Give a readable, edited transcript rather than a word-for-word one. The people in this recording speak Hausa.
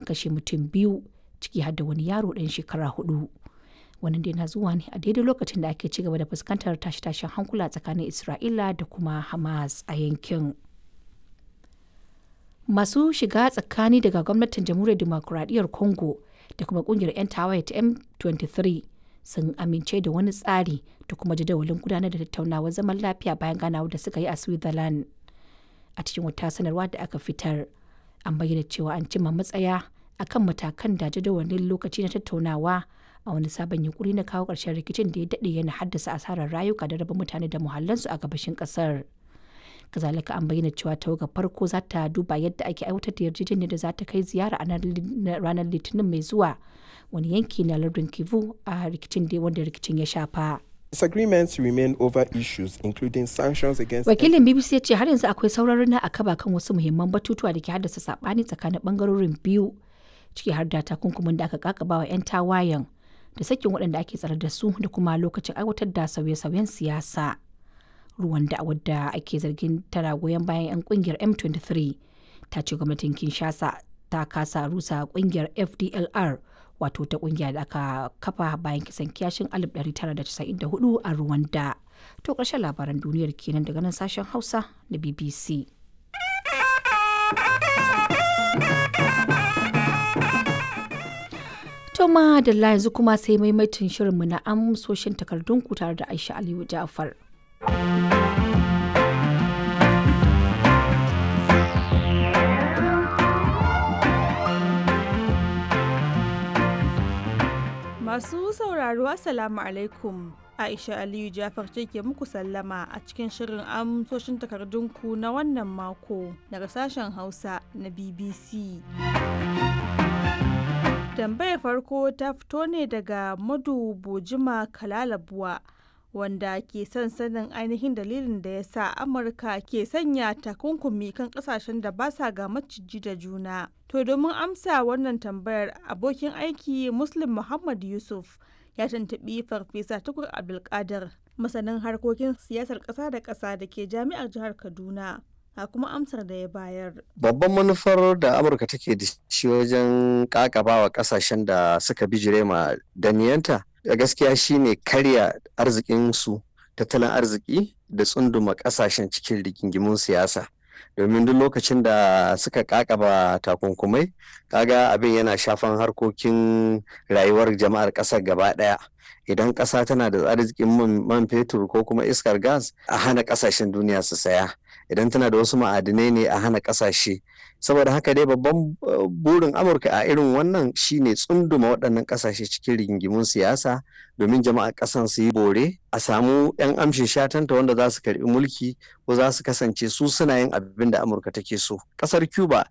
kashe mutum biyu, ciki har da wani yaro ɗan shekara 4. Wannan dai na zuwa ne a daidai lokacin da ake ci gaba da fuskantar tashe-tashen hankula tsakanin Isra'ila da kuma Hamas a yankin. Masu shiga tsakani daga gwamnatin Jamhuriyar Dimokuraɗiyyar Congo da kuma kungiyar 'yan tawaye ta M23 sun amince da wani tsari da kuma jadawalin gudanar da tattaunawar zaman lafiya bayan ganawar da suka yi a Switzerland. A cikin wata sanarwa da aka fitar, an bayyana cewa an cimma matsaya akan matakan da jadawalin lokaci na tattaunawa a wani sabon yunkuri na kawo ƙarshen rikicin da ya daɗe yana haddasa asarar rayuka da raba mutane da muhallansu a gabashin ƙasar. Kazalika an bayyana cewa tawagar farko za ta duba yadda ake aiwatar da yarjejeniyar da za ta kai ziyara a ranar Litinin mai zuwa wani yanki na lardin Kivu a rikicin da wanda rikicin ya shafa. Disagreements remain over issues including sanctions against Wakilin BBC ya ce har yanzu akwai sauraron na akaba kan wasu muhimman batutuwa da ke haddasa sabani tsakanin bangarorin biyu, ciki har da takunkumin da aka kakaba wa 'yan tawayen da sakin waɗanda ake tsare da su da kuma lokacin aiwatar da sauye-sauyen siyasa. Ruwanda, wadda ake zargin tana goyon bayan 'yan kungiyar M23, ta ce gwamnatin Kinshasa ta kasa rusa kungiyar FDLR, wato ta kungiya da aka kafa bayan kisan kiyashin 1994 a Rwanda. To ƙarshen labaran duniyar kenan daga nan sashen Hausa na BBC. To madalla, yanzu kuma sai maimaitin shirinmu na amsoshin takardunku tare da Aisha Aliyu Ja'far. Masu sauraro, Assalamu alaikum. Aisha Aliyu Jafar ce ke muku sallama a cikin shirin amsoshin takardunku na wannan mako daga sashen Hausa na BBC. Tambayar farko ta fito ne daga Madu Bojima Kalalabuwa, wanda ke son sanin ainihin dalilin da ya sa Amurka ke sanya takunkumi kan kasashen da ba sa ga maciji da juna. To domin amsa wannan tambayar, abokin aiki Muslim Muhammad Yusuf ya tuntuɓi Farfesa Tukur Abdulkadir, masanin harkokin siyasar ƙasa da ƙasa da ke Jami'ar Jihar Kaduna. A kuma amsar da ya bayar. Babban manufar da Amurka take da shi wajen ƙaƙabawa ƙasashen da suka bijire ma daniyanta a gaskiya shine karya arzikinsu, tattalin arziki, da tsunduma kasashen cikin rigingimun siyasa, domin duk lokacin da suka kakaba takunkumai, kaga abin yana shafan harkokin rayuwar jama'ar kasar gaba daya. Idan kasa tana da arzikin man fetur ko kuma iskar gas, a hana kasashen duniya su saya. Idan tana da wasu ma'adinai ne, a hana kasashe. Saboda haka dai babban burin Amurka a irin wannan shine tsunduma waɗannan kasashe cikin rigingimun siyasa, domin jama'ar ƙasan su yi bore, a samu 'yan amshin shatanta wanda za su karbi mulki ko za su kasance su suna yin abin da Amurka take so. Ƙasar Cuba